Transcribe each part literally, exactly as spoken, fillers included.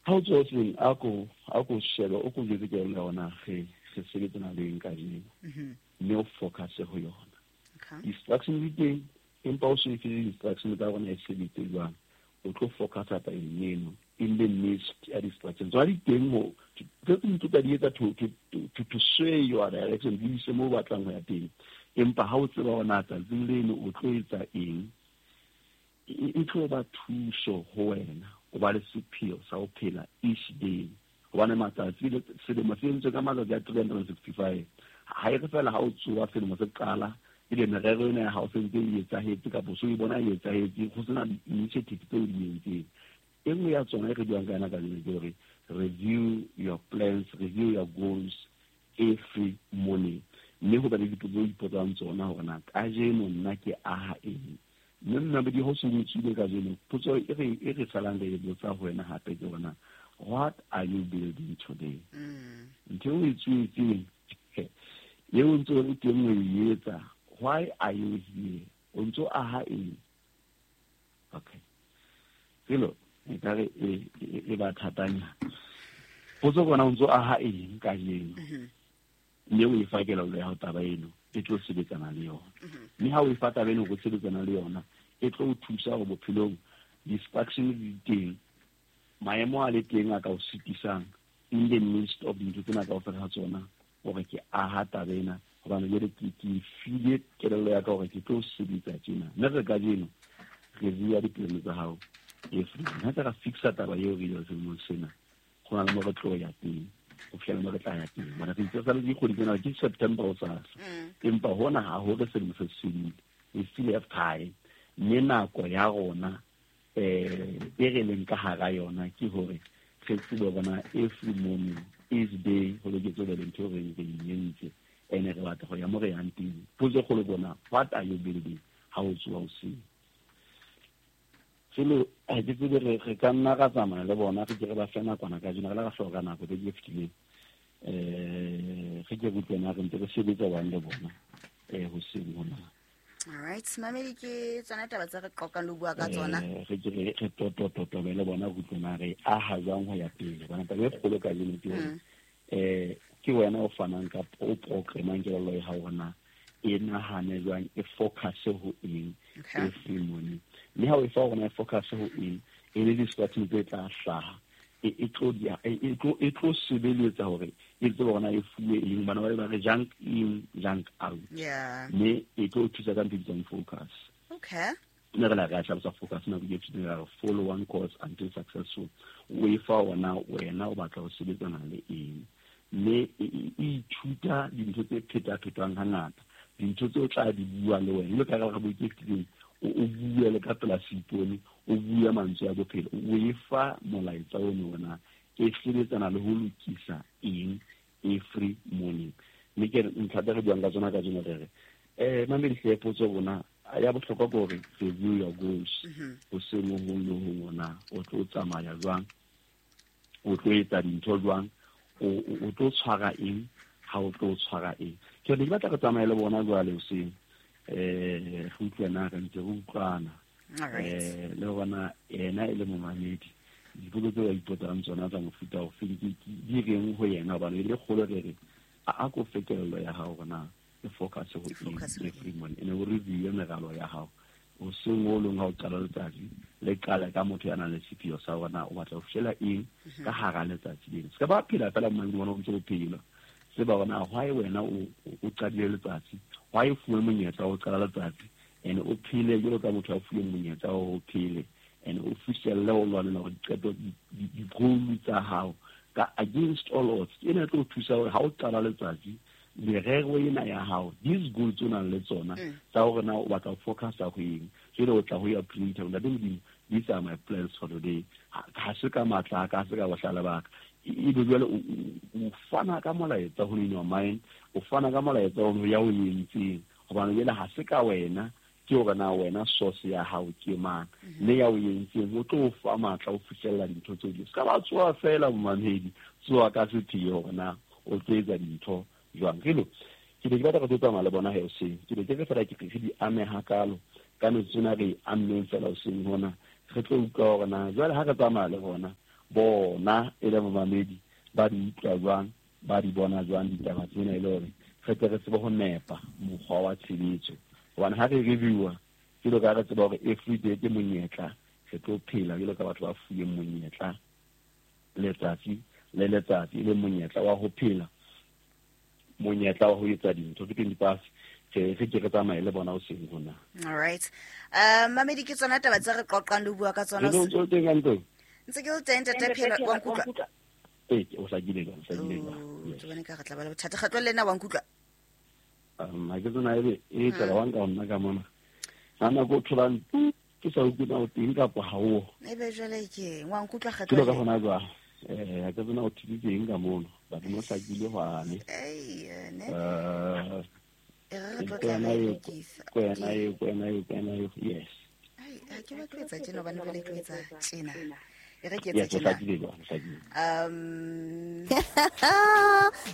Ha o tsoha hoseng, a ko a ko shebe, o ko jwetse kelello ya hore na re re sebetsana le eng kajeno, mme o focus ho yona. Distraction di teng, empa o se fe distraction tsa rona e sebetse jwang, o tlo focusa tabeng eno in the midst ya distraction. Tsona di teng mo tse dintho tsa di etsa to to to to sway your direction, di ise mo o batlang ho ya teng. Empa ha o tseba hore na tsatsing leno o tlo etsa eng, e tlo ba thuso ho wena o ba le sepheo sa ho phela each day. Hobane matsatsi le selemo se entswe ka matsatsi a three hundred and sixty-five. Ha e re fela ha o tsoha selemo se qala, ebe merero ena ya hao se ntse e etsahetse kapa so e bona e etsahetse, ho sena di-initiative tseo di entseng. E nngwe ya tsona e re buang ka yona kajeno ke hore review your plans, review your goals every morning. Mme ho ba le dipotso tse o ipotsang tsona hore na kajeno nna ke aha eng. Mme nna be di ho se o tswile kajeno, potso e re, e re salang re e botsa ho wena hape ke hore na what are you building today? Ntho eo o e tswetseng, eo o ntse o le teng o e etsa, why are you here? O ntso aha eng? Okay. Pelo, ekare e, e, e ba thatanya. Potso bona o ntso aha eng kajeno? Mme o e fa kelello ya hao taba eno, e tlo sebetsana le yona. Mme ha o e fa taba eno go sebetsana le yona, e tlo o thusa hore bophelong distraction di teng, maemo a le teng a ka o sitisang in the midst of dintho tsena kaofela ha tsona, hore ke aha taba ena, hobane jwale ke, ke file kelello ya ka hore ke tlo sebetsa tjena. Mme re kajeno review ya dipolelo tsa hao every day. Ha re fixa taba eo re ile selemong sena, ho na le mo re tlo ya teng, ho fihlela mo re tla ya teng. Hobane re itse sa le dikgwedi tsena ke September ho sasa. Empa hona ha ho re selemo se fedile. We still have time. Mme nako ya rona, eh, e re leng ka hara yona ke hore re tsebe hore na every morning, each day, ho loketse ho be le ntho e re re e entse, ene re batla ho ya mo re yang teng. Potso e kgolo ke hore na, what are you building ha o tsoha hoseng? Selo, ha ke tsebe re, re ka nna ra tsamaya le bona, re ke re ba fe nakwana kajeno, re la ra hloka nako tse di fetileng. Eh, re ke re utlwe na re ntse re sebetsa jwang le bona, eh, hoseng hona. All right, mamedi, ke tsona taba tse re qoqang le ho bua ka tsona. Eh, re ke re, re totototobe le bona, re utlwe na re aha jwang ho ya pele. Hobane taba e kgolo kajeno ke hore, Mm. eh, ke wena o fanang ka, o programang kelello ya hao hore na e nahane jwang, e focus ho eng Okay. every morning. Mme ha o e fa hore na e focus ho eng, e le distraction tse tla hlaha, e, e tlo di, e, e tlo, e tlo sebeletsa hore e tsebe hore na e fuwe eng. Bana ba be ba re junk in, junk out. Yeah. Mme e tlo thusa ka ntho e bitswang focus. Okay. Mme re la re a hlalosa focus nako e fetileng, ra re follow one course until successful. O e fa hore na wena o batla ho sebetsana le eng. Mme e, e, e ithuta dintho tse phetaphetwang hangata, dintho tse o tla di bua le wena. Jwalo ka ha re bua ke fetileng, o, o bue le ka pela seipone, o bue mantswe a bophelo, o e fa molaetsa ono hore na e sebetsana le ho lokisa eng every morning. Mme ke re ntlha tse re buang ka tsona kajeno re re, eh, mamedi hle potso rona ya bohlokwa ke hore review your goals. Hoseng ho hong le hong hore na o tlo tsamaya jwang, o tlo etsa dintho jwang, o, o, o tlo tshwara eng, ha o tlo tshwara eng. Ke re ke batla re tsamaye le bona jwale hoseng, eh, re utlwe na re ntse re utlwana. All right. Eh, le hore yena e le momamedi, dipotso tseo a ipotsang tsona tsa mofuta ofe, di, di, di reng ho yena, hobane e le kgolo re re, a, a ko fe kelello ya hao hore na e focus ho E focus eng ho every eng. morning. Ene o review meralo ya hao hoseng o leng ha o qala letsatsi, le qale ka motho ya nang le sepheo sa hore na o batla ho fihlela eng Mhm. ka hara letsatsi lena. Se ka ba phela fela mmane bona o ntse o phela. Tseba hore na why wena o, o qadile letsatsi, why o fuwe monyetla wa ho qala letsatsi, ene o phele jwalo ka motho a fuweng monyetla wa ho phele, ene o fihlelle ho lwanela hore diqeto, di, di, di-goal tsa hao ka against all odds. Ke ena e tlo o thusa hore ha o qala letsatsi, merero ena ya hao, these goals tse o nang le tsona, Mm. tsa hore na o batla ho focusa ho eng, jwale o tla ho ya printer, Ntate Modimo, these are my plans for today. Ha, ha se ka matla a ka, ha se ka bohlale ba ka. E, ebe jwale o, o, o fana ka molaetsa ho in your mind, o fana ka molaetsa ho ya o entseng, hobane jwale ha se ka wena, ke hore na wena source ya hao ke mang, Mm-hmm. mme ya o entseng o tlo o fa matla o fihlella dintho tseo. Se ka ba tsoha fela momamedi, tsoha ka sepheo hore na o tlo etsa dintho jwang. Relo, ke ne ke batla re tlo tsamaya le bona he hoseng, ke ne ke re fela ke re di ame hakalo ka metsotso ena re e ammeng fela hoseng hona, re tlo utlwa hore na jwale ha re tsamaya le bona bona e le momamedi ba di utlwa jwang, ba di bona jwang ditaba tsena e le hore re tle re tsebe ho nepa mokgwa wa tshebetso. Hobane ha re reviewa jwalo ka re tseba hore every day ke monyetla, re tlo phela jwalo ka batho ba fuweng monyetla letsatsi le letsatsi, e le monyetla wa ho phela, monyetla wa ho etsa dintho. Ke twenty past re re ke re tsamaye le bona hoseng hona. All right. Um mamedi ke tsona taba tse re qoqang le bua ka tsona. Ntse teng ka ntlo. Ntse ke le teng ntate Phelo, wa nkutlwa? Ee, o hlakile jwang, o hlakile jwang. Ke bone ka re tla ba le bothata. Kgetlo le nna wa nkutlwa? Um ha ke tsena ebe e tsela wa nka nna ka mona. Ha nako o tholang ke sa utlwe na o teng kapa ha o. Ebe jwale ke wa nkutlwa kgetlo. Ke ka hona jwang. Eh ha ke tsena o thibile eng ka mono. Batho mo hlakile hwane. Ei, ne. Eh e re tlo tla re lokisa. Kwena e, kwena e, kwena e, yes. Ai, ha ke batlo etsa tjena hobane jwale ke tlo etsa tjena. E re ke etsa tjena. Um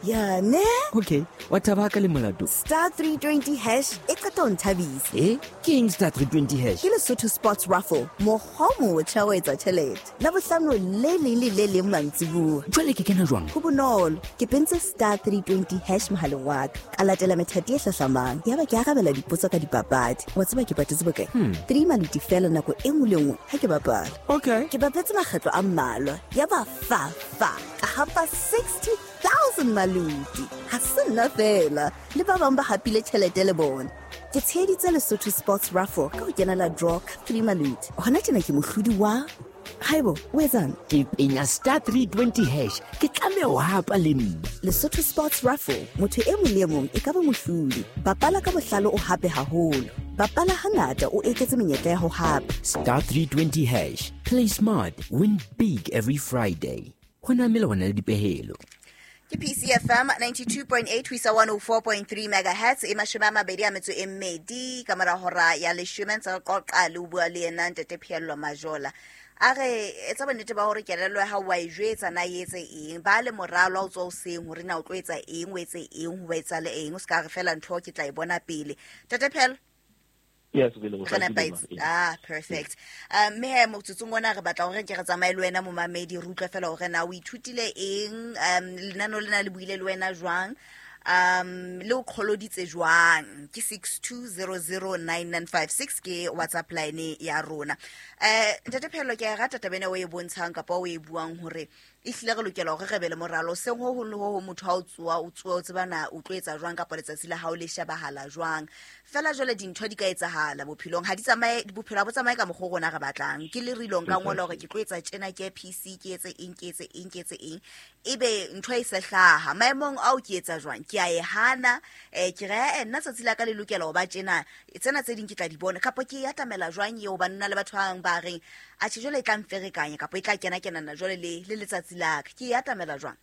ya ne? Okay, wa thaba ka le molato. Star three twenty hash e qeta ho nthabisa. Eh, ke eng star three twenty hash? Ke Lesotho Sports Raffle, mokgwa o motjha wa etsa tjhelete. Labohlano le leng le le leng mantsibuya. Jwale ke kena jwang? Ho bonolo, ke pentse star three twenty hash mohaleng wa ka. Ka latela methati e hlahlamang. Yaba ke arabela dipotso ka dipapadi. Wa tseba ke patetse bokae? Hmm. Three maluti fela nako e nngwe le nngwe ha ke bapala. Okay. Ke bapetse makgetlo a mmalwa. Yaba fa fa ka hapa sixty thousand maluti. Ha se nna fela, le ba bang ba hapile tjhelete le bona. Ke tsheheditse Lesotho Sports Raffle ka ho kenela draw ka three maluti. Hona tjena ke mohlodi wa Haibo, o etsang? Ke penya star three twenty hash. Ke tlameha ho hapa le nna. Lesotho Sports Raffle, motho e mong le e mong e ka ba mohlodi. Bapala ka bohlale o hape haholo. Bapala hangata o eketse menyetla ya ho hapa. Star three twenty hash. Play smart, win big every Friday. Ho na melawana le dipehelo. Ke P C F M ninety-two point eight ho isa one oh four point three megahertz e mashome a mabedi a metso e mmedi ka mora hora ya leshome ntse re qoqa le ho bua le yena ntate Pheello Majola. A re etsa bonnete ba hore kelello ya hao wa e jwetsa na e etse eng, ba le moralo ha o tswa hoseng hore na o tlo etsa eng, o etse eng, ho etsa le eng, o ska re fela ntho ke tla e bona pele. Ntate Pheello? Yes, re le go hlakile. Ah, perfect. Um mme he motsotsong ona re batla hore ke re tsamaye le wena momamedi, re utlwe fela hore na o ithutile eng, um lenano lena le buile le wena jwang, um le o kgoloditse jwang. Ke six two zero zero nine nine five six ke WhatsApp line ya rona. Eh ntate Pheello, ke a rata taba ena o e bontshang kapa o e buang hore ehlile re lokela hore re be le moralo seng ho hong le ho hong. Motho ha o tsoa o tsoa o tseba na o tlo etsa jwang kapa letsatsi la hao le shebahala jwang. Fela jwale dintho di ka etsahala bophelong, ha di tsamaye, bophelo ha bo tsamaye ka mokgwa o rona re batlang. Ke le rilong ka ngola hore ke tlo etsa tjena, ke P C, ke etse eng, ke etse eng, ke etse eng, ebe ntho e se hlaha maemong ao ke etsa jwang, ke a e hana, eh ke re nna tsatsi la ka le lokela ho ba tjena, tsena tse ding ke tla di bona, kapa ke e atamela jwang eo ba nna le batho ba bang ba reng atjhe jwale e tla mferekanya kapa e tla kena kenana jwale le le letsatsi la ka, ke e atamela jwang?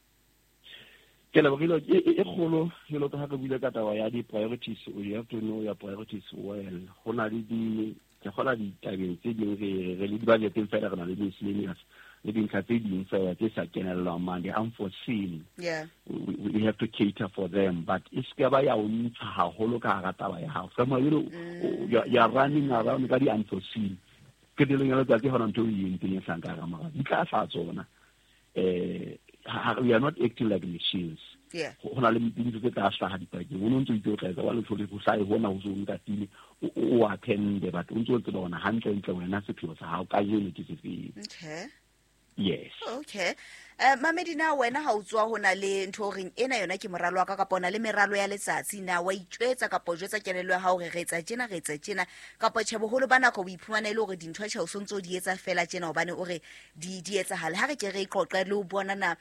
Ke lebohile e kgolo jwalo ka ha re buile ka taba ya di-priorities. You have to know your priorities well. Ho na le di ke kgola ditabeng tse ding re re le di-budgeteng fela, re na le miscellaneous le dintlha tse ding fela tse sa kenellang mane, the unforeseen. Yeah, we, we have to cater for them, but e se ba ya o ntsha haholo ka hara taba ya hao. Ka mo you you are running around ka di-unforeseen. Qetellong ya letsatsi hona ntho e entseng e hlang ka hara moralo di tla hlaha tsona. Eh we are not acting like machines. Yeah. Ho na le dintho tse tla hlaha dipakeng. O no ntso itse o tla etsa wa letho le ho hlahe hona ho so ntatile o attend, but o ntso tseba hona hantle ntle wena sepheo sa hao kajeno ke sefeng. Okay. Yes. Okay. Eh mamedi, na wena ha o tswa hona le ntho o reng ena yona ke moralo wa ka kapa ona le meralo ya letsatsi, na wa itjwetsa kapa o jwetsa kelello ya hao hore re etsa tjena, re etsa tjena, kapa tjhe boholo ba nako o iphumana e le hore dintho tjhe o sontso di etsa fela tjena hobane o re di di etsahale. Ha re ke re qoqe le ho bona na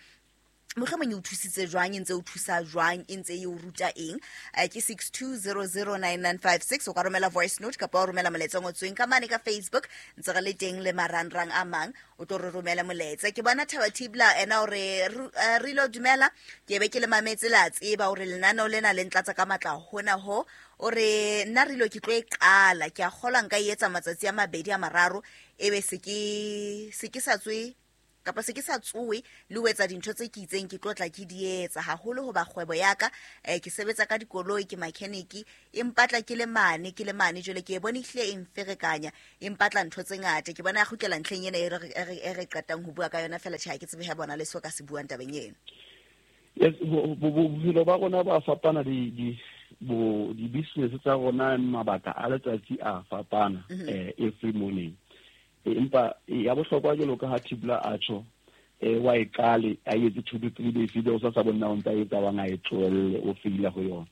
mohlomong e o thusitse jwang, e ntse o thusa jwang, e ntse e o ruta eng. Ke six two zero zero nine nine five six o ka romela voice note kapa o romela molaetsa o ngotsweng ka mane ka Facebook, ntse re le teng le marangrang a mang, o tlo re romela molaetsa. Ke bona Thaba Thibla ena o re Rilo dumela, ke be ke le mametse la tseba hore lenaneo lena le ntlatsa ka matla hona ho. O re nna Rilo ke tlo e qala, ke a kgolwa nka e etsa matsatsi a mabedi a mararo, ebe se ke se ke sa tswe Kapa se ke sa tsoe le ho etsa dintho tse ke itseng ke tlotla ke di etsa haholo hoba kgwebo ya ka eh, ke sebetsa ka dikoloi ke mechanic e mpatla ke le mane ke le mane jwale ke e bone ehlile e mferekanya e mpatla ntho tse ngata ke bona ya kgutlela ntlheng ena e re e re qetang ho bua ka yona fela tjhe ha ke tsebe ha bona le so ka se buang tabeng eno. Yes, bophelo ba rona ba fapana di di bo di business tsa rona mabaka a letsatsi a fapana eh every morning. Empa ya bohlokwa jwalo ka ha Thibla a tjho eh wa e qale a etse two to three days ebe o sa sa bona o ntsa etsa wa nga e tlohelle o feila ho yona.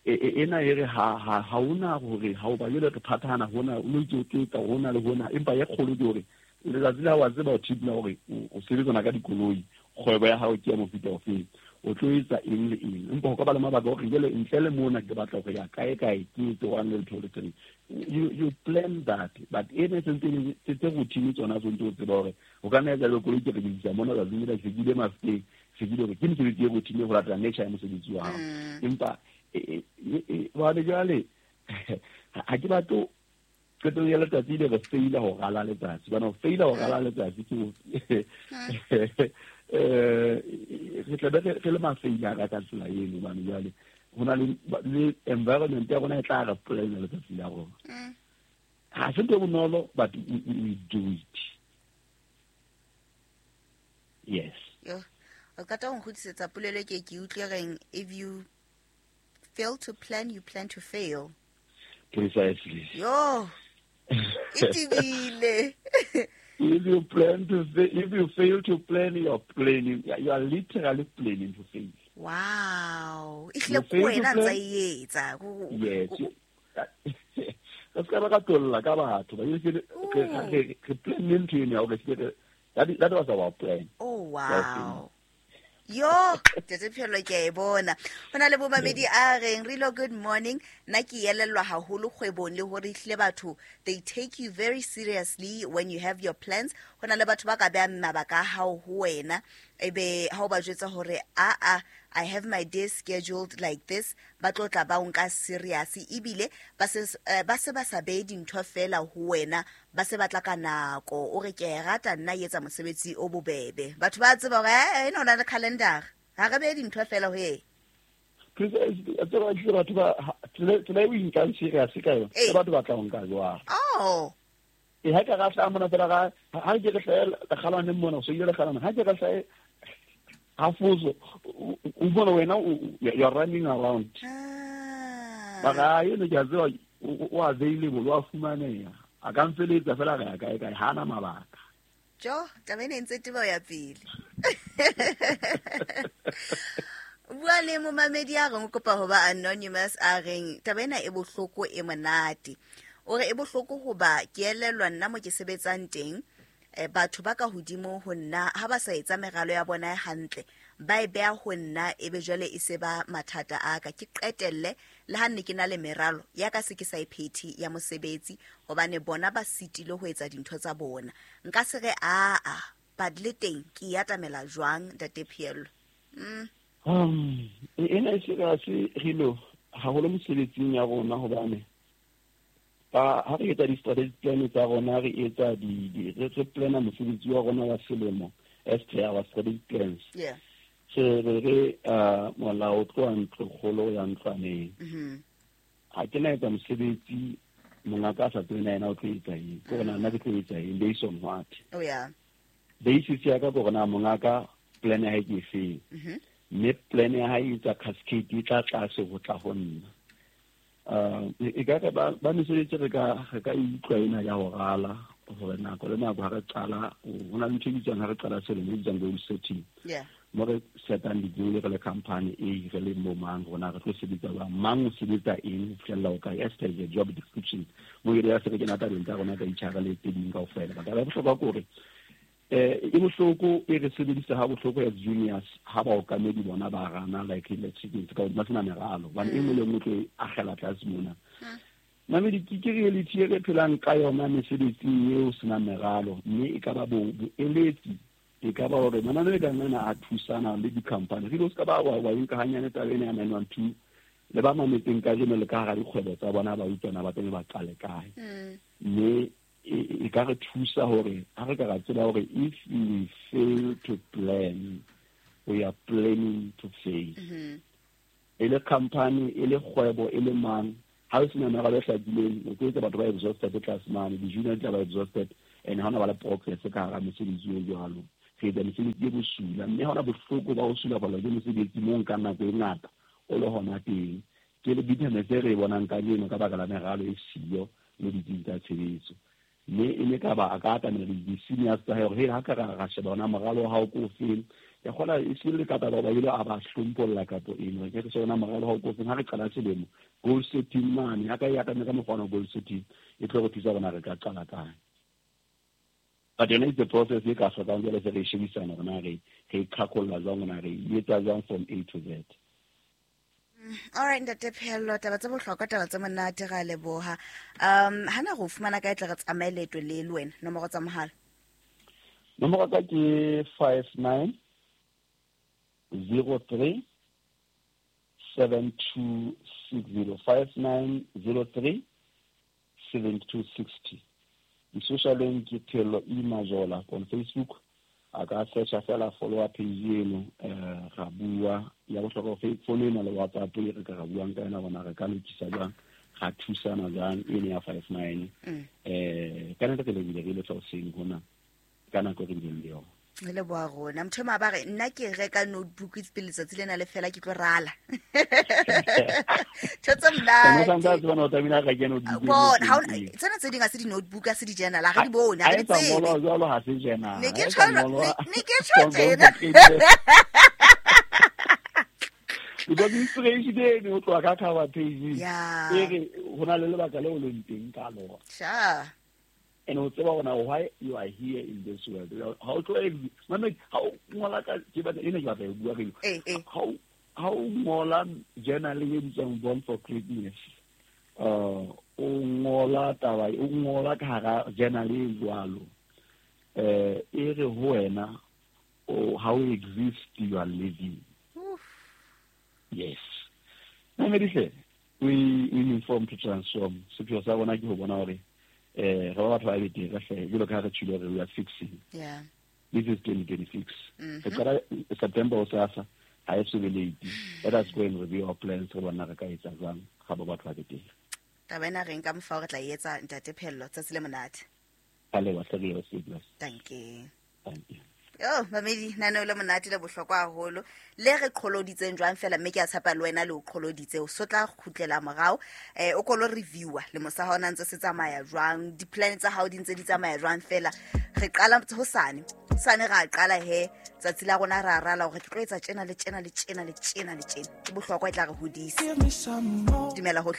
Ena e re ha ha ha una hore ha o ba jwale re phathana hona o itse o tletsa hona le hona empa ya kgolo ke hore letsatsi la wa tseba o Thibla hore o sebetsana ka dikoloi kgwebo ya hao ke ya mofuta ofe o tlo etsa eng le eng empa ho ka ba le mabaka hore jwale ntle le mona ke batla ho ya kae kae ke etse one le two le three. You you plan that but ene sentse tse routine tsona tsontse o tseba hore o ka nna etsa le koloi ke re ke mona tsatsing lena ke ile mafuteng se ke hore ke mosebetsi e routine ho latela nature ya mosebetsi wa hao empa wa le jwale ha ke batlo qetong ya letsatsi le re feila ho rala letsatsi bana ho feila ho rala letsatsi ke eh re tla be re le mafeila ka ka tsela eno bana jwale ho na le environment ya rona e tla re plan letsatsi la rona ha se ntho bonolo but we, we do it. Yes. Yo o ka tla nkgutlisetsa polelo ke ke utlwe reng if you fail to plan you plan to fail. Precisely. Yo itibile. If you plan to fail, if you fail to plan, you are planning. You are literally planning to fail. Wow. Ihle kuwena ntsa etsa. Yes. Ka ska ba ka tolla ka batho ba ile ke ke plan ntho ena o ke that that was our plan. Oh wow. Yo, tete phelo ke e bona. Hona le bomamedi a reng Rilo good morning. Nna ke elellwa haholo kgwebong le hore ihle batho they take you very seriously when you have your plans. Hona le batho ba ka beha mabaka a hao ho wena ebe ha o ba jwetsa hore a a I have my day scheduled like this ba tlotla ba o nka serious ebile ba se ba se ba sa behe dintho fela ho wena ba se batla ka nako o re ke rata nna etsa mosebetsi o bobebe batho ba tseba hore eh ena ona le calendar ha re behe dintho fela ho e precisely a tseba ke batho ba tsela e o nkang serious ka yona ke batho ba tla nka jwang oh e ha ka ga tla mona fela ga ha ke re hlahela kgalwane mona o se ile kgalwane ha ke re hlae hafuzo o bona wena you are running around ba ga eno ke a tseba o available wa fumaneha a ka mfeletsa fela ga ya kae kae hana mabaka jo taba ena e ntse teba ya pele bua le momamedi a reng o kopa ho ba anonymous a reng taba ena e bohloko e monate o re e bohloko hoba ke elellwa nna mo ke sebetsang teng eh batho ba ka hodimo ho nna ha ba sa etsa meralo ya bona hantle ba e beha ho nna ebe jwale e se ba mathata a ka ke qetelle le ha nne ke na le meralo ya ka se ke sa iphethi ya mosebetsi hobane bona ba sitile ho etsa dintho tsa bona nka se re a a but le teng ke ya tamela jwang ntate Phielo mm um ena e se ka se rilo haholo mosebetsing ya rona hobane ba ha re etsa di-strategic plan tsa rona re etsa di re re plana mosebetsi wa rona wa selemo as per our strategic plans. Yeah. So re re uh molao o tloha ntlo kgolo ya ntlwaneng. Mhm. Ha ke na etsa mosebetsi mongaka a sa tsebe na yena o tlo etsa eng ke hore nna ke tlo etsa eng based on what. Oh yeah. Basis ya ka ke hore na mongaka plan ya hae ke efeng. Mhm. Mme plan ya hae e etsa cascade e tla tlase ho tla ho nna. Uh e ka ba ba mesebetsi re ka re ka utlwa ena ya ho rala hore nako le nako ha re qala ho na le ntho e bitswang ha re qala selemo e bitswang goal setting. Yeah. Mo re setang di-goal re le company e re le mo mang rona re tlo sebetsa jwang mang o sebetsa eng ho fihlella ho kae as per the job description mo e re ya se re kena tabeng tsa rona ka H R le tse ding kaofela. But taba ya bohlokwa ke hore eh e bohloko e re sebedisa ha bohloko as juniors ha baokamedi bona ba rana like electric ka ba sena meralo bana e nngwe le nngwe tlo agela tlase mona mamedi ke ke reality e re phelang ka yona mesebetsing eo sena meralo mme e ka ba bo boeletsi e ka ba hore mananeo ka nna a thusana le di-company re lo se ka ba wa wa nka hanyane taba ena ya nine one two le ba mametseng kajeno le ka hara dikgwebo tsa bona ba utlwana ba tsebe ba qale kae mme e ka re thusa hore ha re ka ra tseba hore if we fail to plan, we are planning to fail. E le company, e le kgwebo, e le mang, ha o sena meralo e hlakileng, o tlo etsa batho ba exhausted tlase mane, di-junior di tla ba exhausted, and ha hona ba le progress ka hara mesebetsi e jwalo. Re etsa mesebetsi e bosula, mme ha hona bohloko ba ho sulafallwa ke mosebetsi mo nkang nako e ngata o le hona teng. Ke le bitterness e re e bonang kajeno ka baka la meralo e siyo le ditsing tsa tshebetso. Mme e ne ka ba a ka atamela di-seniors tsa hae hore hey, ha ka ra ra sheba ona moralo wa hao ko ofeng. Ke kgola e se le ka taba ba ile a ba hlompholla kapo eng. Re ke re sheba ona moralo wa hao ko ofeng. Ha re qala selemo, goal setting mane, ha ka e atamela ka mokgwa wa goal setting, e tlo re thusa hore na re ka qala kae. But yona it's the process e ka hlokang jwale se re e shebisana hore na re re e qhaqholla jwang, hore na re e etsa jwang from A to Z. All right, Ntate Phehello, taba tse bohlokwa, taba tse monate, ra leboha. Um hana go fumana kae tle re tsamaye leeto le le wena, nomoro tsa mohala? Nomoro tsa ke five nine zero three seven two six zero, five nine zero three seven two sixty. Di-social-eng ke Phehello E Majola on Facebook. A ka searcha fela follow up page eno, eh ra bua ya bohlokwa ho phone ena le WhatsApp e re ka ra buang ka yona bona re ka lokisa jwang, ra thusana jwang ene ya five nine. Eh ka nako ke lebile re ile tsa hoseng hona ka nako re bileng le yona. Le leboha rona. Motho e mong a ba re nna ke reka notebook pele letsatsi lena le fela ke tlo rala. Ntho tse monate. Ene sa ntse bona o tlamehile a reke notebook. Bona, ha ona tsena tse ding ha se di-notebook, ha se di-journal, ha re di bone, ha re di Ha e sa tsebe. ngolwa jwalo, ha se journal. Ne ke Ha e sa tjho, ngolwa ne ke tjho tjena. Because inspiration eno o tloha ka cover page. Yeah. E re ho na le lebaka leo leng teng ka lona. Sure. And o tseba hore why you are here in this world. Ha o tlo mama ha o ngola ka ke batla ena ke batla ho bua re. Eh, eh. Ha o ha o ngola journal e bitswang Born for Greatness. Uh o ngola taba, o ngola ka hara journal e jwalo. Eh e re ho wena o how you exist, you are living. Oof. Yes. Mamedihle, we we inform to transform. Sepheo sa rona ke ho bona hore eh re ba batho ba betere hle, jwalo ka ha re tjhile hore we are fixing. Yeah. This is twenty twenty-six. Mm-hmm. Re qala September o sasa, ha e so be late. Let us go and review our plans re bona re ka etsa jwang ga ba batho ba betere. Taba ena re nka mfa hore tla e etsa Ntate Phehello, tsatsi le monate. Ka leboha, hle, re e Thank you. Thank you. Oh, mamedi, nano le monate le bohlokwa haholo. Le re qholoditseng jwang fela, mme ke a tshepa le wena le o qholoditse. O so tla kgutlela morao, eh o kolo reviewer le mosa ha ona ntse se tsamaya jwang, di-plan tsa hao di ntse di tsamaya jwang fela. Re qala hosane. Hosane ra qala he, tsatsi la rona ra rala hore ke tlo etsa tjena le tjena le tjena le tjena le tjena. Ke bohlokwa e tla re hodisa. Dumela hohle.